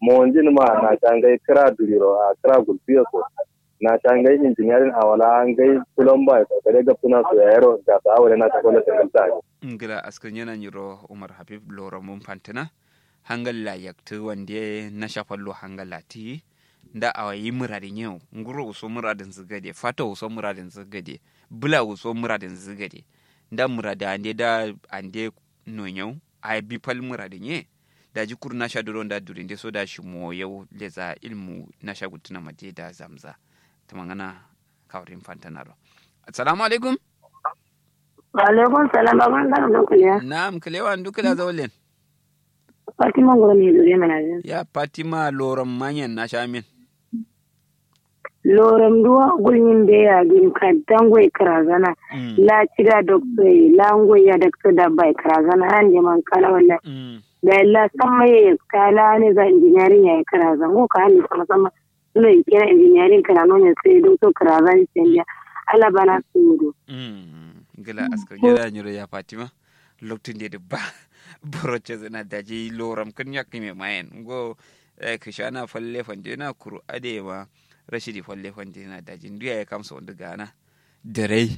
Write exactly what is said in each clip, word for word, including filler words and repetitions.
Monjin ma na sha ngai kǝra duriro a kǝra gulfiyo so. Na sha ngai injiniyarin awala ngai kulomba so gade gabsuna so yayero gasa awale na sha kwallo tangalta. Ngla askǝ nyena nyiro umar habib loro mun fantǝna. Hangalla yaktǝ wande na sha fallo hangalla tiyi. Nda awa yi mǝradǝ nyewo nguro wuso mǝradǝnzǝ gade fato wuso mǝradǝnzǝ gade. Bǝla wuso mǝradǝnzǝ gade. Nda mǝradǝ ande da ande nonyew. Ayi bi fal mǝradǝ nye. Daji kuru nasha duro nda durinde so da shimowo yau leza ilmu nasha gultǝna made da zamza. Tǝmangana kawurin fantanaro. Assalamu alaikum. Wa alaikum salam baban garo ndu kǝlewa? Na'am kǝlewa ndu kǝla zaulen. Fatima nguro ne dure mana jin. Ya fatima loron manyen nasha min. Lorom duwa gulmin be ya gin kadda ngoi krazana. La cida dokto ye la ngoi ya dokto dabba ye krazana han de man kala walla. Da la samma ye ka la ne za engineering ya krazan go ka han sama sama. Suno ikena engineering krano ne sai dokto krazan sendiya. Ala bana sudo. Gila askar gida nyiro ya fatima. Loktu nde dǝ ba boro cezǝna daji loram kǝn yakkǝme mayen ngo. Kǝshana falle fandena kuru adeye ma rashidi falle fandena daji ndu yaye kamso ndu gana. Dǝrai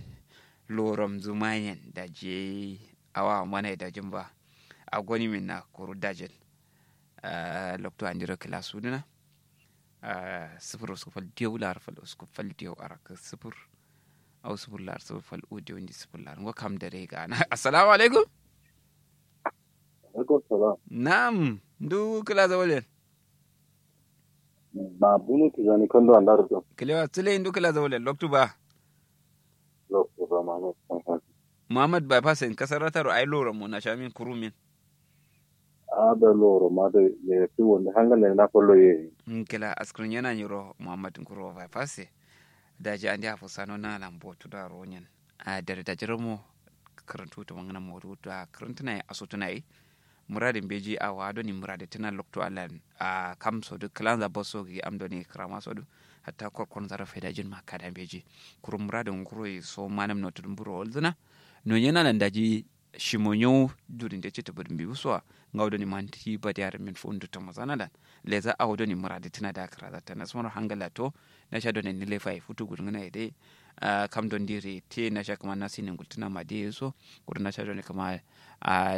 loram zu mayen daji awa mana ye dajin ba. Agoni minna kuru dajin. Loktu andiro kǝla sudǝna. Sǝfur usku fal diyau lar fal usku fal diyau arak sǝfur. Au sǝfur lar sǝfur fal u diyau ndi sǝfur lar ngo kam dare gana. Assalamu alaikum. Alaikum salam. Na'am. Ndu kǝla zawalen? Ma bunu tijani kondo andaro do. Kǝlewa sǝle ndu kǝla zawalen loktu ba? Loktu ba muhammad. Muhammad bypass en kasarata ro ai loro mo na shamin kurumin. Ada loro ma da. Ye tu wanda hangale na follo ye. Nkila askrin yana nyiro muhammad nkuro bypass. Daji andi afo sano na lambo tu da ro nyen. A dare daji romo. Kǝrǝntu tǝmangǝna modu da kǝrǝntǝna ye asutǝna ye. Muradi mbeji awa doni muradi tǝna loktu allan. A kam sodu kǝlanza boso gi am doni kǝrama sodu. Hatta korkonza ro faidajin ma kada mbeji. Kuru muradi nguro ye so manam notudun buro walzǝna. Nonyena lan daji. Shimo nyo durinde citǝ bǝdǝ mbiwu sowa. Ngawo doni manti badi arǝmin fundu tǝmozana lan. Leza awo doni muradi tǝna da kǝraza tana sumaro hangala to. Nasha doni nilefa ye futu gulngǝna ye dai. Kam don diri te nasha kǝma nasini ngultǝna ma dai ye so. Kuru nasha doni kǝma.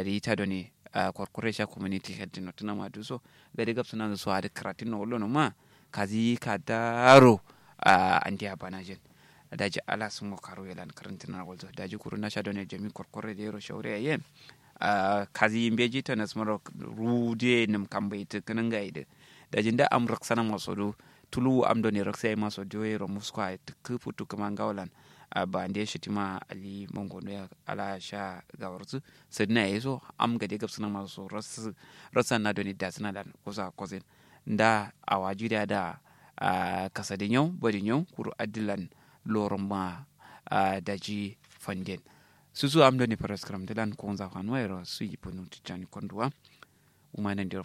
Rita doni. Korkore sha community health notǝna ma du so. Gade gabsǝna so adǝ kǝratin no wallo no ma. Kazi kadaro. Andiya banajin. Daji ala sǝmo karu ye lan kǝrǝntǝna walzo daji kuru nasha done jami korkore de yero shaure ye. Kazi mbeji tanas maro. Rude nǝm kambai tǝ kǝnǝnga ye dǝ. Daji nda am raksana maso du. Tuluwu am done raksa ye maso du yero musko ye tǝkkǝ futu kǝma ngawo lan. Bande shitima ali mangono ye. Ala sha gawarsu. Sǝdǝna ye so am gade gabsǝna maso. Raksana done dasǝna lan kusa kosin. Nda awa juriya da. Kasadi nyau badi nyau kuru addilan loron ma. Daji fanden. Susu am doni faraskaram dilan konza fanuwa yero suyi bunu tijjani konduwa. Wuma nandiro.